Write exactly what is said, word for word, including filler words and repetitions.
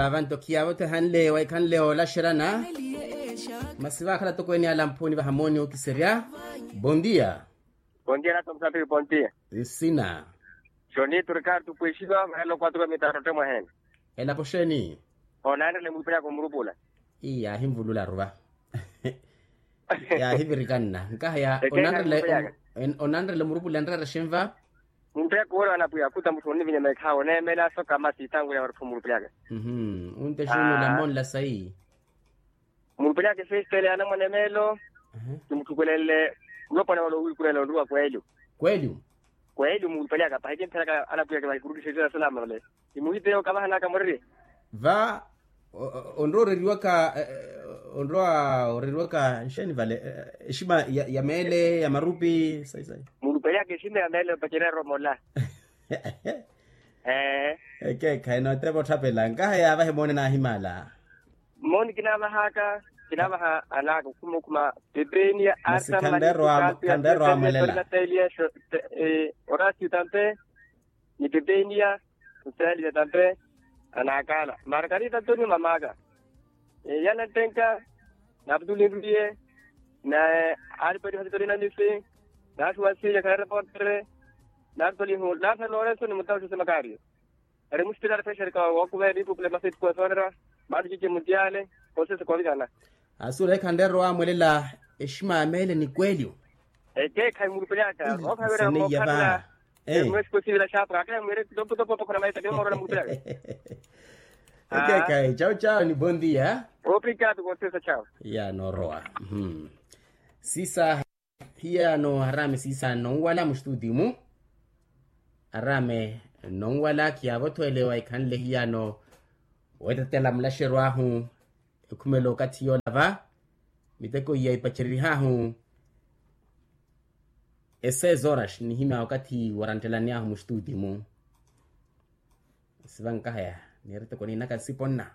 Avanto khiyavo tehanle waikhanle olaxerana. Masi vakhala tokweni alamphoni vahamoni okiserya. Bondia. Bondia nato msapiri bondia. Nsina. Joni turikari tupwexiva maelo kwatuka mitarote mwahene. Elapo xeni? Onanrele mwipiryaka omurupula. Iya ahinvulula aruva. Yaahivirikanna nkaha ya onanrele murupule nreere xinva. Mumpeya kuwela wana pwiya kuta mutthu onivinya meekhawo oneemela soka masi itangu ya oriphu murupule aka. Unte xunyula monla sayi. Murupule aka efestele ya anamwane meelo. Kimutthukulenle. Mulopwana wala owiikunela onruwa kwelyu. Kwelyu. Kwelyu murupale aka pahi kimpheraka anapwiyaka vahikurutishe tina salama vale. Imuhiteya okavahanaka muriri. Va onrowa oreriwaka onrowa oreriwaka nxeni vale? Exima ya meele ya marupi sayi sayi. Murupale aka exima ya meele opacerya romola. Ee. Ekeekhayi nootepa otthapela nkaha yaavahe moone naahimala. Mmooni kinaavahaka kinaavaha anaka okhuma okhuma. Pepenia arta maliku kantu ya pepenia tolina teliya. Orasio tampe ni pepenia. Soseliya tampe. Anakala margarita antoni mamaka. Yana ntenka. Naputuli nruliye. Naye alipeti hasi tolina misi. Naxuwa nsinya khana reportere. Natutolihu naphela lorenso ni mutauxu semakario. Eri muxitila arifexerika wakuva eri ipupule masitikuwa soonera. Malucici mutiyale. Konsesi kovikana. Asula ekhanreero wamwelela. Exima ya meele ni kwelyo. Ekeekhayi murupelaka. Okhavira mookhalana. Mwesiko sivira xapo akaya mwire topotopo khona maisa kimoorona murupelaka. Ekeekhayi chawu chawu ni bondia. Oprikatu konsesi chawu. Ya noorowa. Sisa. Hiyano araame siisa nonwala muxituti-mu. Araame nonwala khiyaavo-tho ele waikhanle hiyano. Weetetela mulaxeryo ahu ekhumela okathi yoola va. Miteko iya ipacererih'ahu. Eseis horas nihimya okathi wooranttelani ahu muxituti-mu. Siva nkahaya. Niiriteko niinaka nsipo nna.